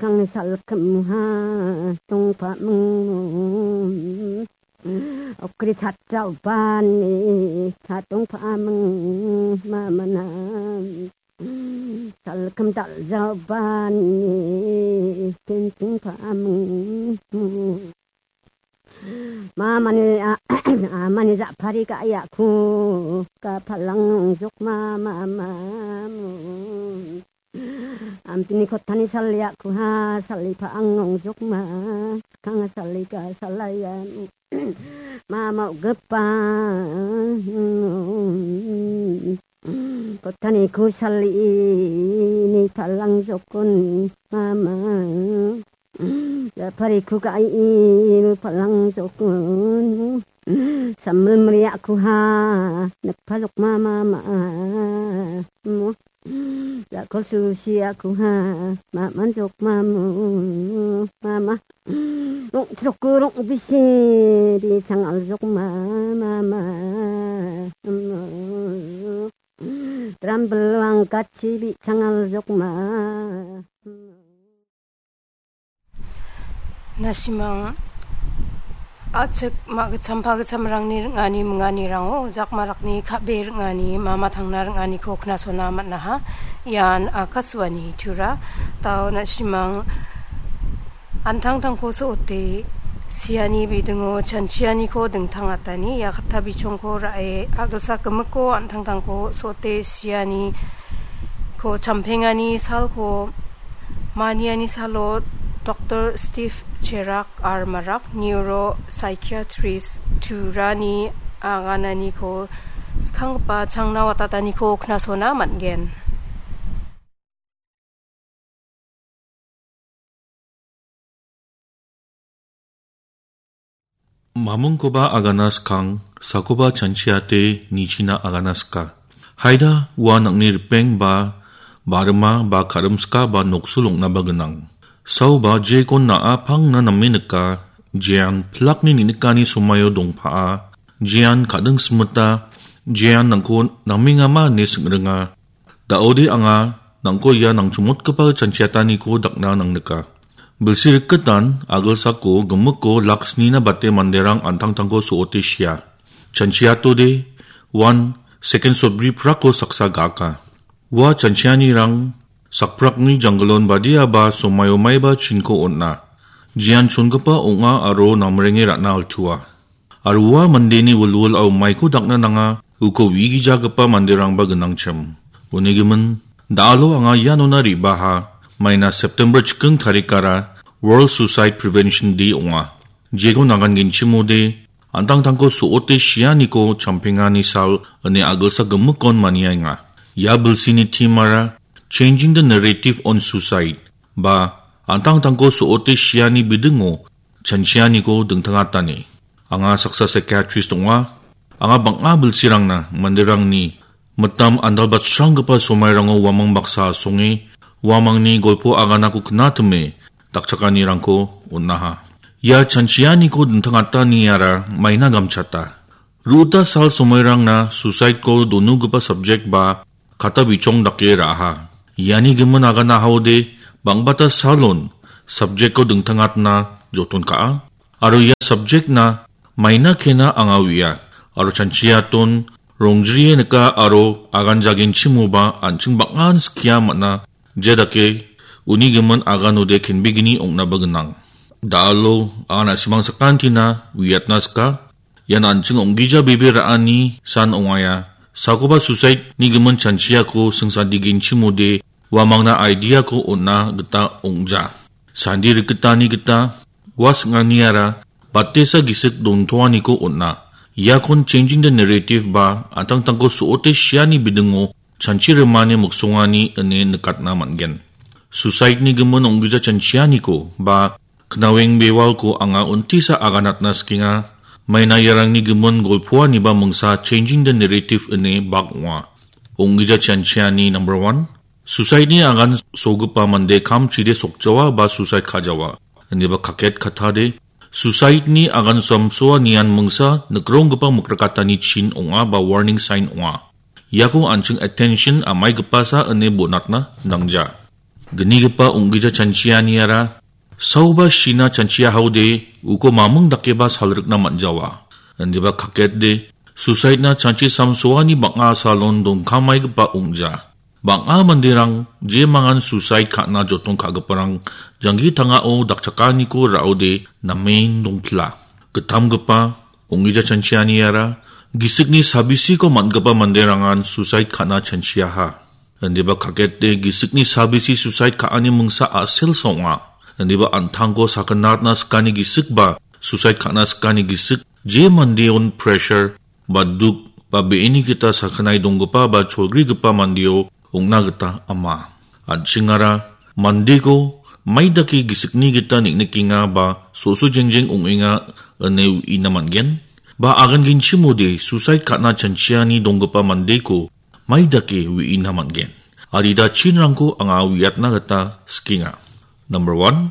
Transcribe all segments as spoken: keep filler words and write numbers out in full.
Ang salkemha tongpamung. Okri chatjaobani chatongpamung mamana. Salkem daljaobani tintungpamung. Mamani a-, amani japari ka·iako ka palang nongjok ma, ma, ma, mo. Amtini kotani saliako ha, salipa ang nongjok ma, kanga salika salaya, mama ugepa. Kotani ku sali ni palang jokon mama. Japari ku ka i palang jokon. Sambil meriak ku ha, nekpa jok mama ma. Mo. Jakol susi aku ha, maman jok mamu, mama. Rong trok rong bisi di sangal jok ma, mama. Trambel angkat si di sangal jok ma. Nasimang a·chik ma·gitcham pagitchamrangni ring·ani minganirango jakmarakni ka·be ring·ani mama tangna ring·aniko knasona man·aha. Ian Akashvani Tura. Dao nasimang antangtangko so·ote siani bidingo chanchianiko dingtangatani ia katta bichongko ra·e a·gilsa gimikko antangtangko so·ote sianiko champengani salko maniani salo Doktor Steve Cherak R Marak, Neuropsychiatrist Turani agananiko skanggipa changna watataniko knasona man·gen. Mamungkoba agana skang, sakoba chanchiate nichina agana ska. Haida ua nang·ni ripeng ba, barima ba, karimska ba, noksul ong·naba gnang. Saoba jekon na·a pangna name nika, jean pilakni ninikani somaio dongpa·a, jean kading simita, jean nangko namengama ine sing·ringa. Da·ode anga nangko ia nangchongmotgipa chanchiataniko dakna nangnika. Bilsi rikitan a·gilsako gimikko lak snina bate manderang antangtangko so·ote sia. Chanchiatode uan second sotbri prako saksa gaka. Ua chanchianirang sakprakni janggilon badiaba somaio maiba chinko on·a. Jean chongipa ong·a aro namrenge ra·na altua. Aro ua mandeni wilwilao maiko dakna nanga, uko wigijagipa manderangba gnangchim. Uni gimin, da·alo anga ianona re·baha, maina September chiking tarikara World Suicide Prevention Day ong·a. Jeko nagan genchimode, antangtangko so·ote sianiko champengani sal ine a·gilsa gimikon maniaenga. Ia bilsini theme-ara Changing the Narrative on Suicide, ba antangtangko so·ote siani bidingo chanchianiko dingtangatani. Anga saksa psychiatrist ong·a. Anga bang·a bilsirangna manderangni mitam andalbatsranggipa somairango uamang baksa asonge, uamangni golpo aganako knatime dakchakanirangko on·aha. Ia chanchianiko dingtangataniara maina gamchata. Ru·ta sal somairangna suicide-ko donugipa subject ba kata bichong dake ra·aha. Iani gimin agana haode bang·bata salon subject-ko dingtangatna joton ka·a. Aro ia subject-na maina kena anga uia. Aro chanchiaton rongjrie nika aro agan jagenchimoba an·ching bang·an skia man·a. Jedake uni gimin aganode kenbegini ong·naba gnang. Da·alo anga na·simang sakantina uiatna sika. Ian an·ching ong·gija bebe ra·ani san ong·aia. Sakoba suicide-ni gimin chanchiako singsandigenchimode uamangna idea-ko on·na gita ong·ja. Sandi rikgitani gita ua sing·aniara batesa gisik dontoaniko on·a. Iakon Changing the Narrative ba antangtangko so·ote siani bidingo chanchi rimani miksongani ine nikatna man·gen. Suicide-ni gimin ong·gija chanchianiko ba knaweng bewalko anga untisa aganatna sikenga. Maina iarangni gimin golpoaniba mingsa Changing the Narrative ine bak ong·a. Ong·gija chanchiani number one, suicide-ni agan sogipa mande kamchide sokjawa ba suicide ka·jawa. Ineba kaket katade, suicide-ni agan samsoa nian mingsa nikronggipa mikrakatani chin ong·a ba warning sign ong·a. Iako an·ching attention amaigipasa ine bonatna nangja. Gnigipa ong·gija chanchianiara saoba shina chanchiahaode uko maming dakeba salrikna man·jawa. Indiba kaketde suicidena chanchi samsoani bang·a salon dongkamaigipa ong·ja. Bang·a manderang jemangan suicide ka·na jotong ka·giparang janggi tangao dakchakaniko ra·ode namen dongpila. Gittamgipa ong·gija chanchianiara gisikni sabisiko man·gipa manderangan suicide ka·na chanchiaha. Indiba kakete gisikni sabisi suicide ka·ani mingsa a·selsa ong·a. Indiba an·tangko sakanatna sikani gisikba suicide ka·na sikani gisik je mandeon pressure ba duk ba be·eni gita sakanai donggipa ba cholgrigipa mandeo ong·na gita ama. An·chingara mandeko maidake gisikni gita neng·nikenga ba so·so jengjeng ong·enga ine uina man·gen. Ba agangenchimode suicide ka·na chanchiani donggipa mandeko maidake uina man·gen. Adida chinrangko anga uiatna gita sikenga. Number one,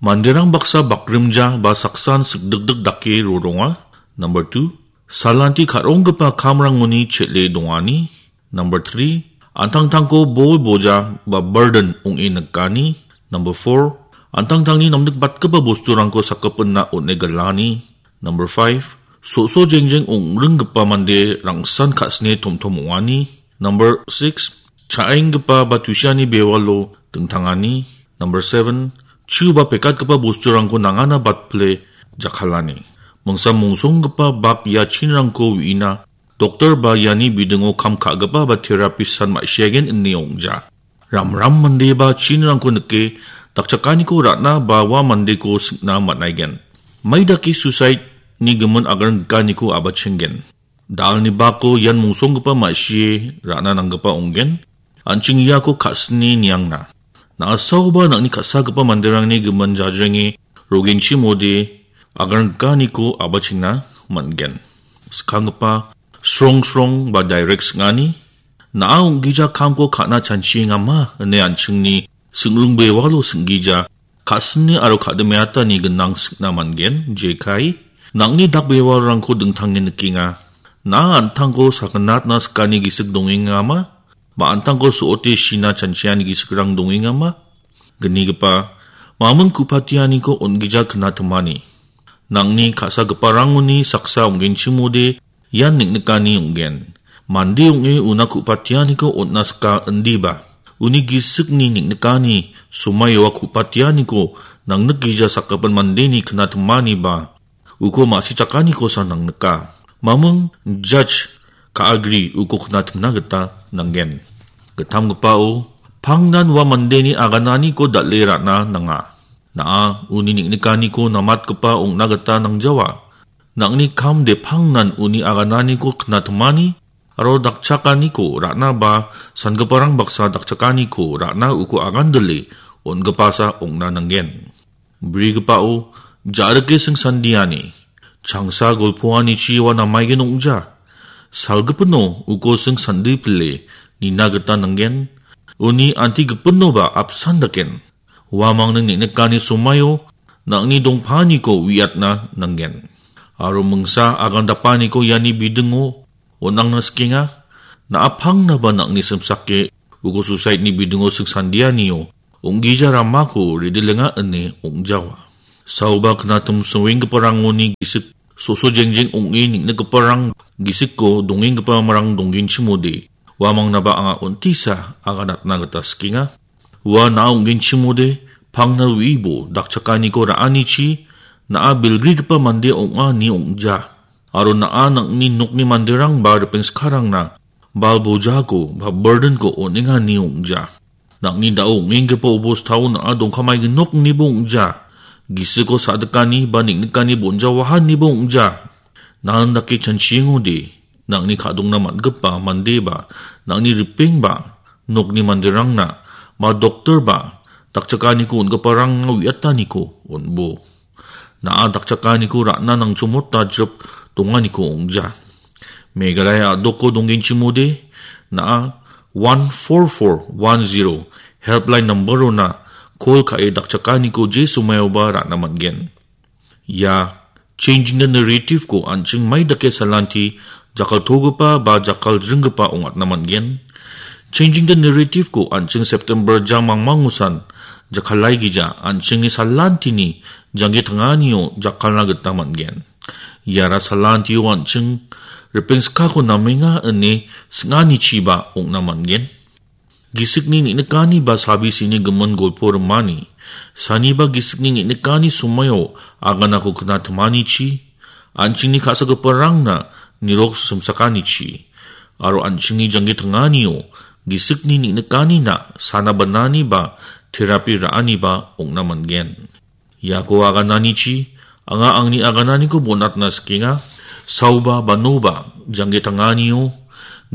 manderang baksa bakrimja ba saksan sikdikdik dake roronga. Number two, salanti ka·ronggipa kamrangoni chel·e dongani. Number three, an·tangtangko bol boja ba burden ong·e nikani. Number four, an·tangtangni namnikbatgipa bosturangko sakgipinna on·e gilani. Number five, so·so jengjeng ong·ringgipa mande rangsan ka·sine tomtom ong·ani. Number six, cha·enggipa ba tusiani bewalo dingtangani. Number seven, chu ba pekatgipa bosturangko nangana batpile jakkalani. Mingsa mongsonggipa bak ia chinrangko uina doktor ba iani bidingo kam ka·gipa ba terapistan ma·siagen ine ong·ja. Ramram mande ba chinrangko nike dakchakaniko ra·na ba ua mandeko singna man·aigen. Maidake suicide-ni gimin agaranggikaniko abachenggen. Dalni bako ian mongsonggipa ma·sie ra·na nanggipa onggen. An·ching iako ka·sini niangna. Na·asaoba nang·ni ka·sagipa manderangni gimin jajrenge rogenchimode agaranggikaniko abachengna man·gen. Skanggipa srongsrong ba direct sing·ani. Na·a ong·gija kamko ka·na chanchiengama ine an·chingni sing·ringbewalo sing·gija ka·sini aro ka·dimeatani ginang sing·na man·gen, jekai. Nang·ni dakbewalrangko dingtange nikenga. Na·a an·tangko sakanatna sikani gisik dongengama? Ba an·tangko so·ote shina chanchiani gisikrang dongengama? Gnigipa, maming ku·patianiko on·gija knatimani. Nang·ni ka·sagiparangoni saksa ong·genchimode ian neng·nikani ong·gen. Mande ong·e una ku·patianiko on·na sika indiba. Uni gisikni neng·nikani somaioa ku·patianiko nangnikgija sakgipin mandeni knatimaniba uko ma·sichakanikosa nangnika. Maming judge ka·agri uko knatimna gita nanggen. Gittamgipao, pangnan ua mandeni agananiko dal·e ra·na nanga. Na·a uni neng·nikaniko namatgipa ong·na gita nangjawa. Nang·ni kam de pangnan uni agananiko knatimani aro dakchakaniko ra·na ba sangiparang baksa dakchakaniko ra·na uko agandile on·gipasa ong·na nanggen. Brigipao, ja·rike singsandiani. Changsa golpoanichi ua namaigen ong·ja. Salgipino uko singsandiple nina gita nanggen. Uni antigipinoba apsan daken. Uamangni neng·nikani somaio nang·ni dongpaniko uiatna nanggen. Aro mingsa agandapaniko iani bidingo on·angna sikenga. Na·a pangnaba nang·ni simsake uko suicide-ni bidingo singsandianio ong·gija ramako redilenga ine ong·jawa. Saoba knatim songenggiparangoni gisik so·so jengjeng ong·e neng·nikgiparang gisiko dongenggipamarang donggenchimode uamangnaba anga on·tisa aganatna gita sikenga. Ua na·a ong·genchimode pangna uibo dakchakaniko ra·anichi na·a bilgrigipa mande ong·a ine ong·ja. Aro na·a nang·ni nokni manderang ba ripengskarangna bal bojako ba burdenko on·enga ine ong·ja. Nang·ni da·o ong·enggipa obostao na·a dongkamaiginok ineba ong·ja. Gisiko sa·dikani ba neng·nikani bonjawaha ineba ong·ja. Nanan dake chanchiengode, nang·ni ka·dongna man·gipa mandeba, nang·ni ripengba, nokni manderangna, ba doktorba, dakchakaniko on·giparangna uiataniko on·bo. Na·a dakchakaniko ra·na nangchomota jip donganiko ong·ja. Meghalaya a·doko donggenchimode, na·a one four four one zero helpline number-ona call ka·e dakchakaniko je somaioba ra·na man·gen. Ia changing the narrative-ko an·ching mai dake salanti jakkaltogipa ba jakkaljringgipa ong·atna man·gen. Changing the narrative-ko an·ching September jang mangmangosan jakkalaigija an·chingni salantini janggi tanganio jakkalna gita man·gen. Iara salantio an·ching ripengskako namenga ine sing·anichiba ong·na man·gen. Gisikni neng·nikani ba sabisini gimin golpo rimani, saniba gisikni neng·nikani somaio aganako knatimanichi, an·chingni ka·sagiparangna nirok simsakanichi, aro an·chingni janggi tanganio gisikni neng·nikanina sana banani ba terapi ra·aniba ong·na man·gen. Iako agananichi, anga angni agananiko bonatna sikenga. Saoba banoba, janggi tanganio,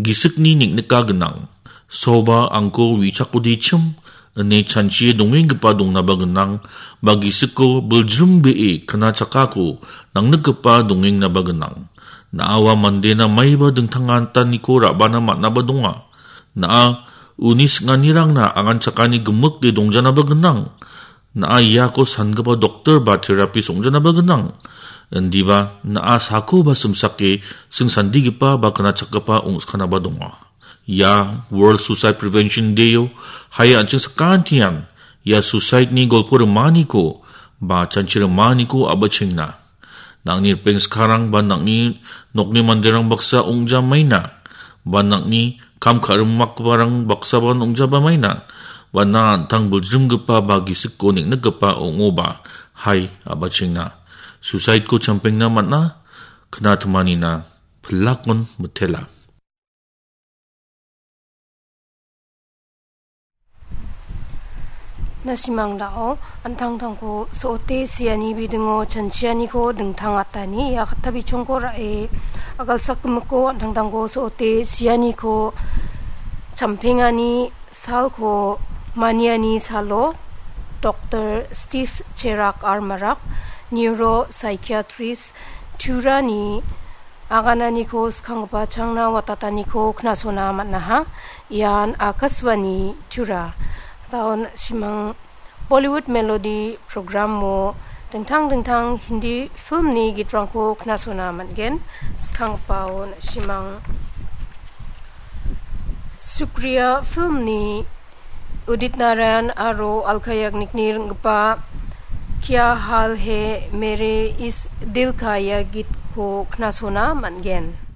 gisikni neng·nika gnang. Saoba angko wi·chakodichim, ine chanchie dongenggipa dongnaba gnang, ba gisiko biljrimbee knachakako nangnikgipa dongengnaba gnang. Na·awa mandena maiba dingtang antaniko ra·bana man·aba donga. Na·a uni sing·anirangna anganchakani gimikde dongjanaba gnang. Na·a iako sangipa doktor ba terapis ong·janaba gnang. Indiba na·a sako ba simsake singsandigipa ba knachakgipa ong·skanaba donga. Ia World Suicide Prevention Day-o hai an·ching sakantian ia suicide-ni golpo rimaniko ba chanchi rimaniko a·bachengna. Nang·ni ripengskarang ba nang·ni nokni manderang baksa ong·jamaina, ba nang·ni kam ka·rimakgiparang baksaba ong·jabamaina, ba na an·tang biljrimgipa ba gisiko neng·nikgipa ong·oba, hai, a·bachengna. Suicide-ko champengna man·a, knatimanina, pilakon mitela. Nasimang dao, an·tangtangko so·ote siani bidingo chanchianiko dingtang atani, ia katta bichongko ra·e, agalsakgimiko an·tangtangko so·ote sianiko champengani salko maniani salo, Doktor Steve Cherak R Marak, Neuro Psychiatrist Turani agananiko skanggipa changna watataniko knasona man·aha. Ian Akashvani Tura. Daon simang Bollywood Melody Program-o dingtang dingtang Hindi filmni gitrangko knasona man·gen. Skanggipaon simang Sukriya filmni Udit Narayan aro Alka Yagnikni ring·gipa Kya Haal Hai Mere Is Dil Ka Ye Geet-ko knasona man·gen.